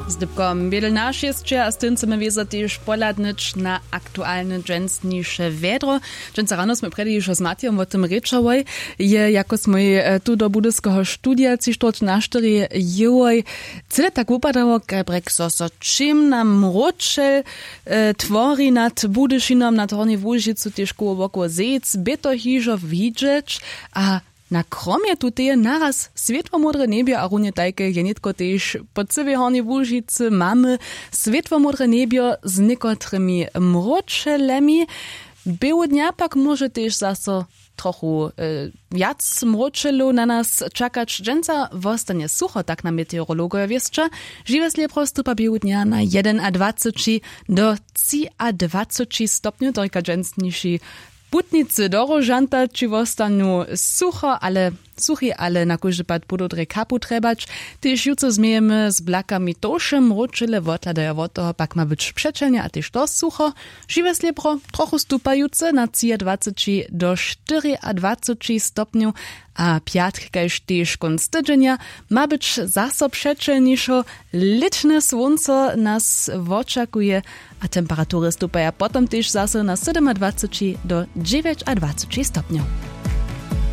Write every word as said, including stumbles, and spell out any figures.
Z dypkom bědel na šěsće a z tym chcemy wězo tež pohladnyć na aktualne dźensniše wjedro. Dźensa rano smy prjedy hižo z matijom wo tym rěčałoj. Je jako smój tu do budyskeho studija tři štwórć na štyri jěłoj, cyle tak wupadało kajbrjek zo so čimna mróčel twori nad budyšinom nad hornjej łužicu tež koło wokoło zejc bě to hižo widźeć. A na kromje tuteje naraz swětłomódre njebjo a runje tajke je nětko tež po cyłej hornjej łužicy mamy swětłomódre njebjo z někotrymi mróčelemi. Běłu dnja pak móže tež zaso trochu wjac mróčelow na nas čakać dźensa wostanje sucho tak na meteorologoje wěsća. Žiwe slěbro stupa běłu dnja na jedenadwaceći do třiadwaceći stopnjow to rěka dźensniši putnicy do róžanta ći wostanu sucho ale suchi ale na kóždy pad budu drje kapu trjebać. Tež jutře změjemy z blakami tołše mróčele wothladajo wot toho pak ma być přećelnje a tež to sucho. Žiwe slěbro trochu stupajutce na třiadwaceći do štyriadwaceći stopnjow. A pjatk kaž tež kónc tydźenja ma być zaso přećelnišo. Lětne słónco nas wočakuje a temperatury stupaja potom tež zaso na sydomadwaceći do dźewjećadwaceći stopnjow.